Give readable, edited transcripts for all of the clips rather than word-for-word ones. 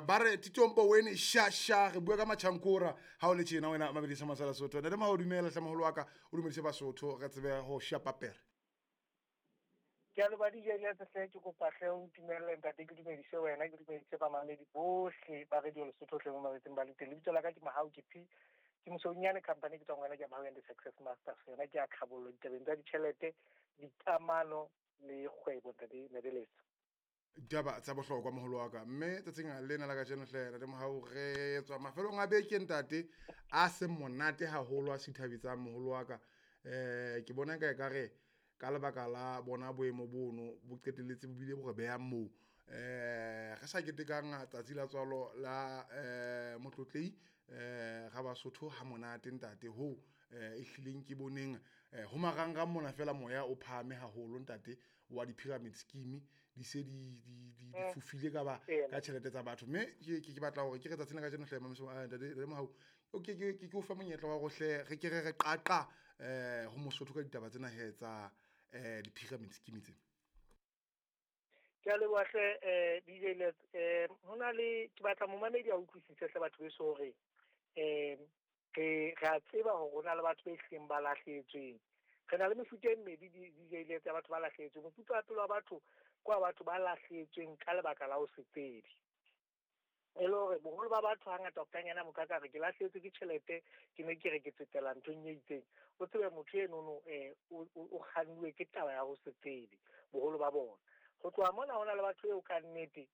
Ba re Titompo wene sha sha, re bua ka Machankura ha o le tjena wena Mabedisa Masala Sotho. Ntate Mohau, dumela hle moholo wa ka, o dumedise Basotho re tsebe ho shapa pere. Ke a leboha DJ Letse hle, ke kopa hle o ntumelle ntate ke dumedise wena, ke dumedise bamamedi bohle ba Radio Lesotho hle mo mametseng ba le teng. Lebitso la ka ke Mohau ke P. Ke Mosounyane company ke tswang wena ke Mohau and the Success Masters. Yona ke ya tlhabollo ditabeng tsa ditjhelete, dikamano le kgwebo ntate Nebeletso. Ditaba tsa bohlokwa moholo wa ka, mme tsatsing lena la kajeno hle ntate Mohau re tswa mafelong a beke ntate a seng monate haholo a sithabetsang moholo wa ka. Ke bona ka ekare ka lebaka la bona boemo bono bo qetelletse bo bile bo re behang moo. Re sa ketekang tsatsi la tswalo la motlotlei ga Basotho ha monate ntate hoo e hlileng ke boneng ho marangrang mona fela moya o phahame haholo ntate wa di-pyramid scheme di se di fofile ka ba ka tjhelete tsa batho. Mme ke batla hore ke re tsatsing la kajeno hle ntate Mohau, ke o fe monyetla wa hore hle re ke re re qaqa ho Mosotho ka ditaba tsena he tsa di-pyramid scheme tsena. Ke a leboha hle DJ Lets. Ho na le ke batla momamedi a utlwisise hle batho beso hore re a tseba hore ho na le batho ba ehlileng ba lahlehetsweng. Re na le mefuta e mmedi DJ Lets ya batho ba lahlehetsweng. Mofuta wa pele wa batho ke wa batho ba lahlehetsweng ka lebaka la ho se tsebe. E le hore boholo ba batho hangata o ka motho a ka re ke lahlehetswe ke tjhelete, ke ne ke re ke tsetela nthong e itseng. O tsebe motho enono o kgannuwe ke taba ya ho se tsebe boholo ba bona. Ho tloha mona ho na le batho eo ka nnete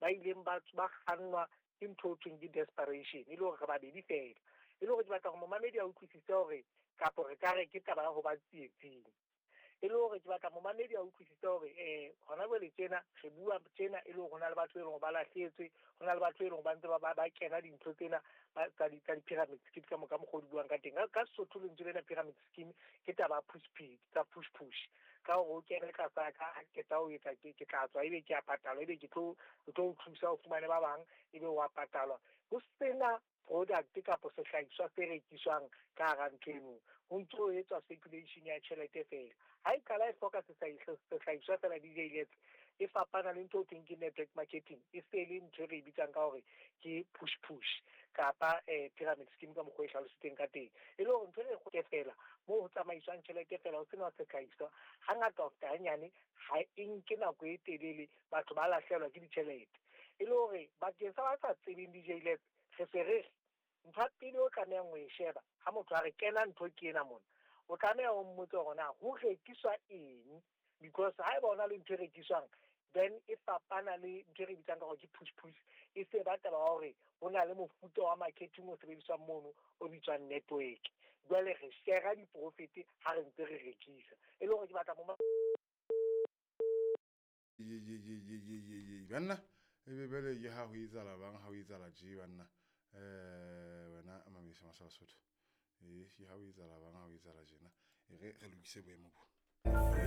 ba ileng ba kgannwa ke ntho ho thweng ke desperation, e le hore re babedi fela. E le hore ke batla hore momamedi a utlwisise hore kapo re ka re ke taba ya ho ba tsietsing. E le hore ke batla momamedi a utlwisise hore hona jwale tjena re bua tjena e le hore ho na le batho e leng hore ba lahlehetswe, ho na le batho e leng hore ba ntse ba kena dintho tsena tsa di-pyramid scheme ka mokgwa o di buang ka teng. Ka Sesotho lentswe lena pyramid scheme ke taba push tsa push push. Ka hore o kene tlasa ka ke tla o etsa ke tla tswa ebe ke a patalwa, ebe ke tlo o thusa o fumane ba bang ebe wa patalwa. Ho sena product kapa sehlahiswa se rekiswang ka hara ntho eno. Ho ntso ho etswa circulation ya tjhelete fela. Ha e qala e hloka sehlahiswa fela DJ Lets, e fapana le ntho e thweng ke network marketing. E se le ntho e re e bitsang ka hore ke push push kapa pyramid scheme ka mokgwa e hlalositseng ka teng. E le hore ntho e re fela moo ho tsamaiswang tjhelete fela ho sena sehlahiswa, hangata ho feta hanyane ha e nke nako e telele batho ba lahlehelwa ke ditjhelete. E le hore bakeng sa ba sa tsebeng DJ Lets, re se re ntho ya pele o tlamehang ho e sheba ha motho a re kena ntho ke ena mona, o tlameha o mmotse hore na ho rekiswa eng, because ha eba hona le ntho e rekiswang then e fapana le ntho e re bitsang ka hore ke push push. E se ba taba ya hore ho na le mofuta wa marketing o sebediswang mono o bitswang network. Jwale re share di-profit ha re ntse re rekisa. E le hore ke batla mo Ye banna ebe bele ke ha ho etsahala bang ha ho etsahala tje banna. Wena Mamisa Masala Sotho. Ke ha ho etsahala bang ha ho etsahala tjena. E re re lokise boemo bo.